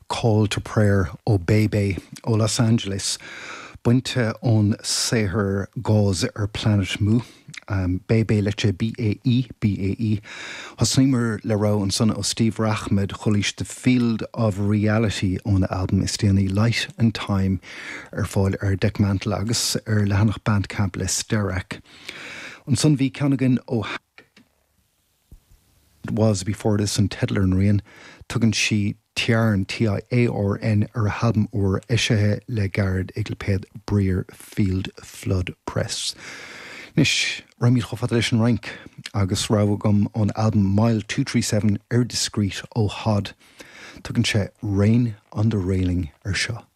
Call to Prayer ó BaeBae ó Los Angeles, bainte ón saothar Gauze ar Planet Mu. BaeBae luite B-A-E B-A-E. Thosnaíomar le rogha ansan ó Steve Rachmad, chualaís The Field of Reality óna albam is déanaí Light and Time ar fáil ar Dekmantel agus ar leathanach Bandcamp le Sterak. Ansan bhí ceann againn ó. Was Before This an teideal ar an rian. Tugann sí Tiarn, T-I-A-R-N, ar a halbam úr, eisithe le gairid ag lipéad Briarfield Flood Press. Anois, raghaimid chomh fada leis an Fhrainc agus rogha agam ón albam Mile 237 ar Discreet ó Hod. Tugann sé Rain on the Railing ar seo.